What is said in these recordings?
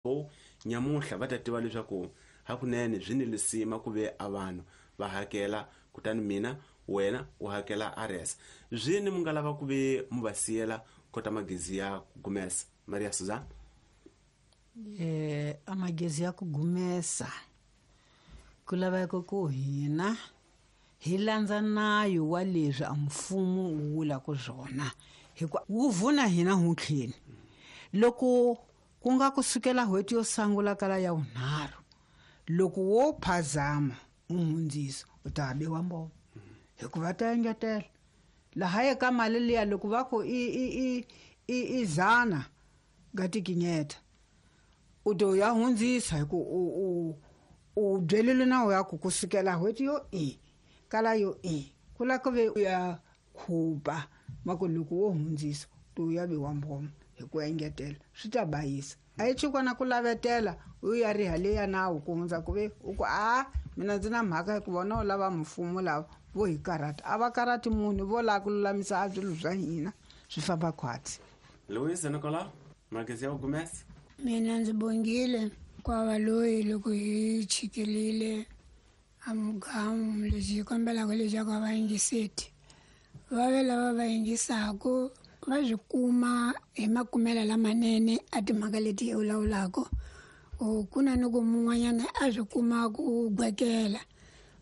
Kwalaho nyamuhla va ta tiva leswaku hakunene byi ni lisima ku ve a vanhu va hakela, kutani mina wena u hakela aresa. Zwini mu nga lava ku ve mu va siyela kota magezi ya ku gumesa? Maria Suzana. A magezi ya ku gumesa ku laveka ku hina hi landza nayo wa leswi a mfumo wu vulaka swona, hikuva wu vuna hina huntlheni. Loko ku nga kusukela n'hweti yo sungula kala ya vunharhu, loko wo phazama u hundzisa u ta biwa mboma, hikuva ta engetela laha eka mali liya. Loko va ku i 100 nga tikinyeta, u to ya hundzisa hi ku u byelile nawu ya ku kusukela n'hweti yo i kala yo i ku la ku ve u ya khupa ma ku loko wo hundzisa to ya biwa mboma hi ku engetela, swi ta bayisa. A yi chukwana ku lavetela u ya riha leya nawu ku hundza ku ve u ku a mina ndzi na mhaka, hikuva vona u lava mfumo lava vo hi karhata. A va karhati munhu, vo lava ku lulamisa a swilo swa hina swi famba khwatsi. Louise Nicolau, magezi ya ku gumesa. Mina ndzi bongile kwava loyi loko hi chikelile a mugamu. Lexi hi kombelaka leswaku a va yingiseti, va ve lava va yingisaku, va swi kuma hi makumelo lamanene a timhaka leti hi vulavulaka. Ku na ni ku mun'wanyana a swi kuma ku gwekela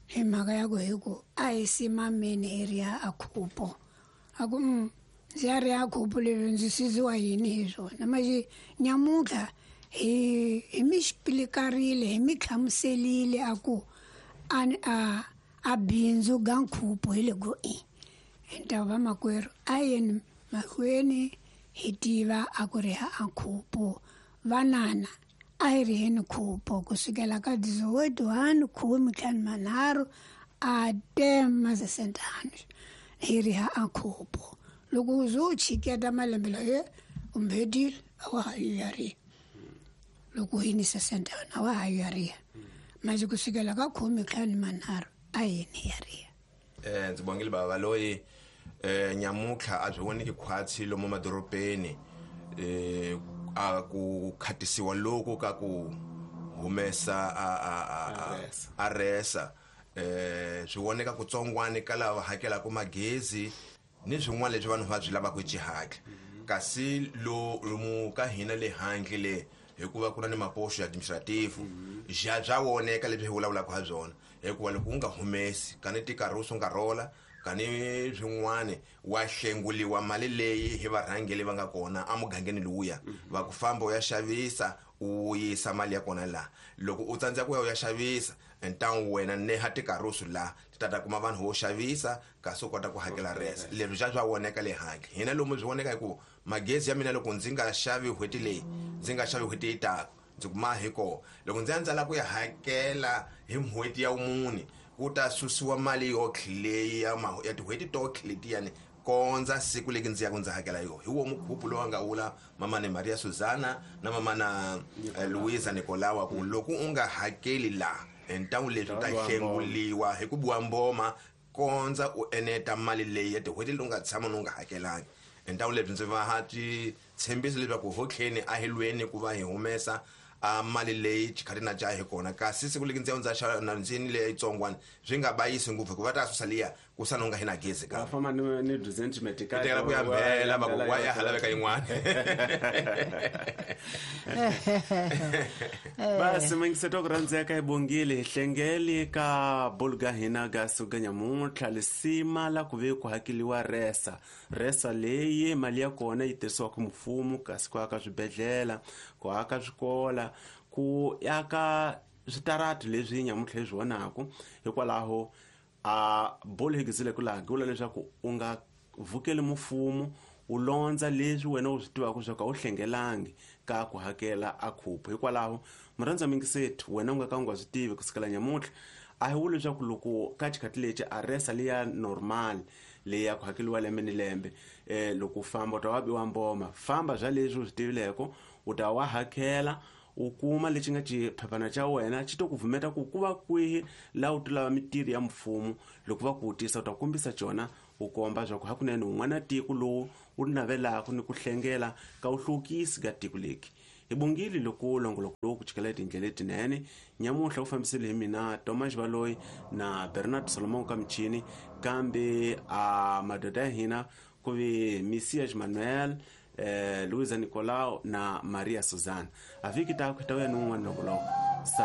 hi mhaka ya ku hi ku a hi simameni hi riha a khupo, a ku ndzi ya riha khupo leswi ndzi siziwa yini hi swona. Manje nyamuntlha hi mi xipilikarile, hi mi hlamuselile a ku a bindzu ga nkhupo hi le go i hi ta va makwerhu a yeni mahlweni hi tiva a ku riha a nkhupo. Vanana a hi riheni khupo kusukela ka 01 53 a 10 masesentano hi riha a nkhupo. Loko u ze u chiketa malembe laye u mbedile, a wa ha yi ya riha. Loko u yinisa sentano a wa ha yi ya riha. Manje kusukela ka 53 a yini ya riha. Ndzi bongile bava loyi. Nyamutlha a byi voneki khwatsi lomu madorobeni a ku khatisiwa loku ka ku humesa a aresa, swi voneka kutsongwani ka lava hakelaka magezi ni swin'wana leswi vanhu va swi lavaka hi xihatla. Kasi lomu ka hina le handle le, hikuva ku na ni maposo ya administrative, ja bya voneka leswi hi vulavulaka ha byona, hikuva loko u nga humesi kani tikaruso nga rola kani swin'wani, wa hlenguliwa mali leyi hi varhangeli va nga kona emugangeni luya, va ku famba u ya xavisa, u yisa mali ya kona laha. Loko u tsandzeka ku ya u ya xavisa, ntangu wena neha tikarusu laha ti ta ta kuma vanhu vo xavisa, kasi u kota ku hakela resa. Leswi swa voneka le handle. Hina lomu swi voneka hi ku magezi ya mina, loko ndzi nga xavi n'hweti leyi, ndzi nga xavi n'hweti yi taka, ndzi kuma hi kona. Loko ndzi ya ndzi lava ku ya hakela hi n'hweti ya vumune, ku ta susiwa mali yotlhe leyi ya tin'hweti totlhe letiyani kondza siku leki ndzi yaka ndzi hakela yona. Hi wo mukhupu lowu a nga vula mamani Maria Suzana na mamana Louisa Nicolawa, ku loko u nga hakeli laha ntangu leswi u ta hlenguliwa hi ku biwa mboma kondza u eneta mali leyi ya tin'hweti leti u nga tshama ni u nga hakelangi. Ntangu lebyi ndzi va ti tshembisa leswaku hotlheni a hi lweni ku va hi humesa a mali leyi xikhati na ja hi kona, kasi siku leki ndzi ya ndza xava na ndzini leyi yitsongwana swi nga bayisi ngopfu, hikuva ta susa liya ku sala u nga hi na gezi. Ka famba ni resentiment. Ka tekela ku ya mbela va ku wa ya ha laveka yin'wana. Basi mingiseto ku rhandzeka, hi bongile hi hlengeli ka bolo ga hina ga suka nyamuntlha lisima la ku ve ku hakeliwa resa. Resa leyi mali ya kona yi tirhisiwaka mfumo, kasi ku aka swibedhlele, ku aka swikola, ku aka switarati leswi nyamuntlha hi swi vonaku. Hikwalaho a bolo hi gizile ku laha vula leswaku u nga vukeli mfumo, u londza leswi wena u swi tivaka leswaku a wu hlengelangi ka ku hakela a khupu. Hikwalaho murhandza mingisethi, wena u nga ka u nga swi tivi kusukela nyamuntlha, a hi vuli leswaku loko ka xikhati lexi a resa leya normal leyi ya ku hakeliwa lembe ni lembe, loko u famba u ta wa biwa mboma. Famba bya leswi u swi tivileko, u ta wa hakela, u kuma lexi nga xiphephana xa wena xi to ku vumeta ku ku va kwihi laha u ti lava mitirho ya mfumo. Loko va ku vutisa, u ta kombisa cona, u komba swa ku hakunene un'wana tiko lowu u navelaka ni ku hlengela ka vuhluvukisi ka tiko leki. Hi bongile loko longoloko lowu ku chikela tindlela letinene. Nyamuhla wu fambisile hi mina Thomas Valoyi na Bernard Solomon ka michini, kambe a madoda ya hina ku ve Messias Manuel, Luisa Nicolau na Maria Susana. A vhiki ta ku ta vuya ni wun'wana longoloko.